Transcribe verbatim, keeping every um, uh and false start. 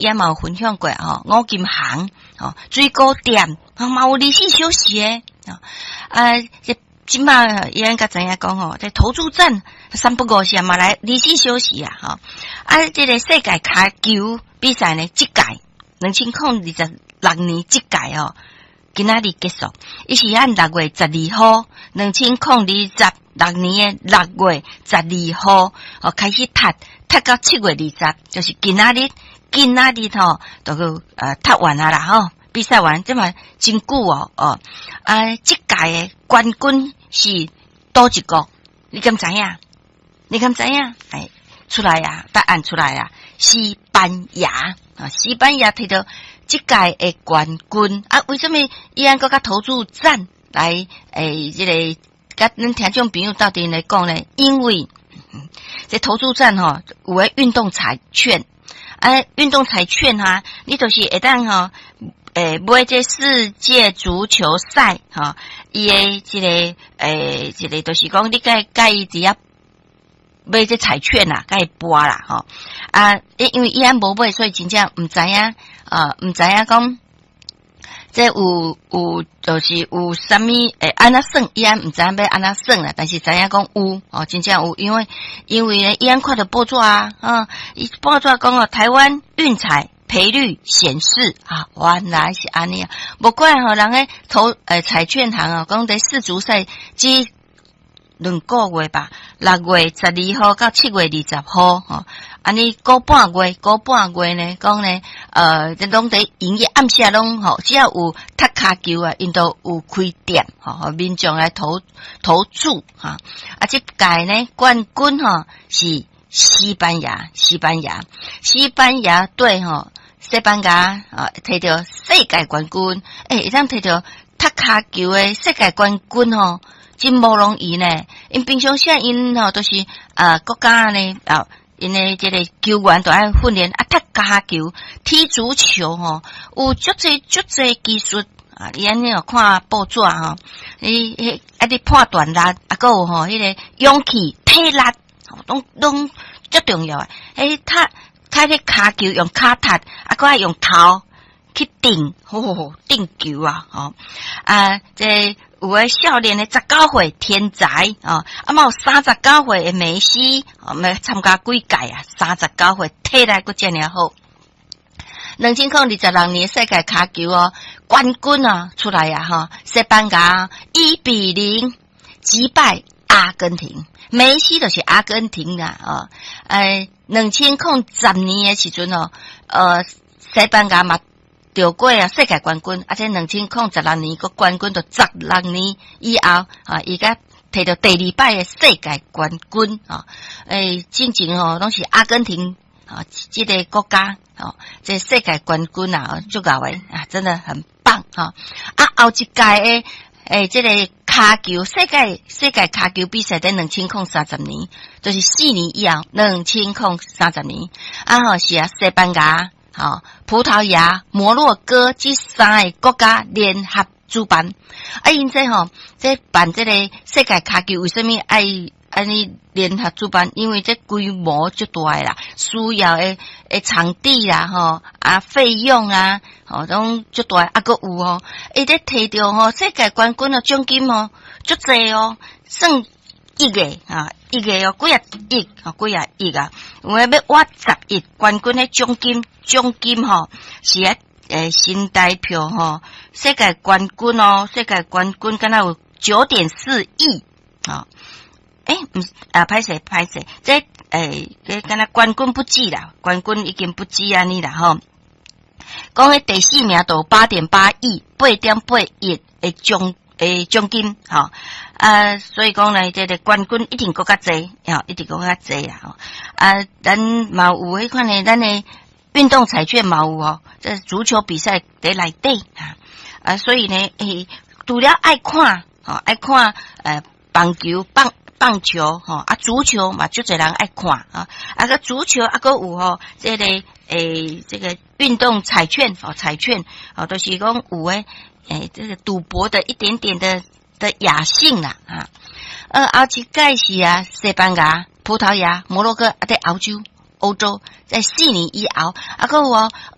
也嘛有分享過吼，五金行吼，水果店，嘛有二十四小時的，啊，這這馬伊咱才知影講吼，這投注站三不五時嘛來二十四小時啊，吼，啊，這个世界跤球比賽呢，這屆兩千空二十六年這屆哦，今仔日結束，伊是按六月十二號，兩千空二十六年的六月十二號哦開始踢，踢到七月二十，就是今仔日。今仔日吼，就閣呃踢完啊啦吼，比賽完這嘛真久哦哦啊！這屆的冠軍是佗一國？你敢知影？你敢知影？哎，出來啊！答案出來啊！西班牙啊，西班牙提著這屆的冠軍啊！為什麼伊按閣佮投注站來？欸，這个佮咱聽眾朋友鬥陣來講呢？因為這投注站吼有的運動彩券。啊，運動彩券哈，你就是會當吼，欸，買這世界足球賽吼，伊的這個欸，這个就是講你共共伊佇遐買這彩券啦，共伊博啦吼。啊，因為伊按無買，所以真正毋知影啊，毋知影講這有有就是有啥物會按怎算，伊按毋知影欲按怎算啦，但是知影講有哦，真正有，因為因為呢，伊按看著報紙啊，啊，伊報紙講哦，台灣運彩賠率顯示啊，原來是按呢啊，無怪吼人咧投欸彩券行哦，講佇世足賽這兩個月吧，六月十二號到七月二十號吼，按呢個半月，個半月呢，講呢，呃，這攏佇營業暗時攏吼，只要有踢跤球啊，𪜶都有開店吼，民眾來投投注哈。啊，這屆呢冠軍吼是西班牙，西班牙，西班牙隊吼，西班牙啊，提著世界冠軍，欸，會當提著踢跤球的世界冠軍吼。真無容易呢，𪜶平常時𪜶吼都是啊國家呢啊，𪜶的這个球員都愛訓練啊，踢跤球、踢足球吼，有足濟足濟技術啊！你按呢看報紙吼，你彼啊你判斷力啊，閣有吼彼个勇氣、體力，攏攏足重要的。欸，踢踢彼跤球用跤踢，啊，閣愛用頭去頂，吼頂球啊！吼啊，這有的少年的十九歲天才哦，啊嘛有三十九歲的梅西，哦，欲參加幾屆啊？三十九歲體力閣遮爾好。兩千空二十六年世界跤球哦，冠軍啊出來啊吼，西班牙一比零擊敗阿根廷，梅西就是阿根廷啦哦。哎，兩千空十年的時陣哦，呃，西班牙嘛著過啊世界冠軍，啊這兩千空十六年閣冠軍，就十六年以後啊，伊才提著第二擺的世界冠軍啊！欸，進前吼攏是阿根廷啊，這个國家哦，這世界冠軍啊，足𠢕的啊，真的很棒哈！啊，後一屆的欸，這個跤球世界世界跤球比賽佇兩千空三十年，就是四年以後兩千空三十年啊吼是啊，西班牙、吼葡萄牙、摩洛哥這三个國家聯合主辦。啊，𪜶這吼這辦這個世界跤球，為啥物愛按呢聯合主辦？因為這規模足大的啦，需要的的場地啦，吼啊費用啊，吼攏足大。啊，閣有吼，伊咧提著吼世界冠軍的獎金哦，足濟哦，算億的啊，億的哦，幾仔億，吼幾仔億啊，有的欲倚十億冠軍的獎金，獎金吼是啊，欸，新台票吼，世界冠軍哦，世界冠軍敢若有九點四億啊！欸，毋啊，歹勢歹勢，這欸，這敢若冠軍不止啦，冠軍已經不止按呢啦吼。講彼第四名就八點八億，八點八億的獎的獎金吼啊，所以講呢，這个冠軍一定閣較濟，吼，一定閣較濟啊！吼啊，咱嘛有彼款的，咱的運動彩券嘛有哦，這足球比賽佇內底啊，啊，所以呢，欸，除了愛看，吼，愛看，呃，棒球、棒棒球，吼，啊，足球嘛，足濟人愛看啊，啊閣足球啊，閣有吼，這个欸，這個運動彩券，哦，彩券，哦，都是講有的，欸，這個賭博的一點點的的雅興啦，啊，呃，後一屆是啊，西班牙、葡萄牙、摩洛哥啊，佇歐洲。歐洲，在四年以後，啊，閣有哦。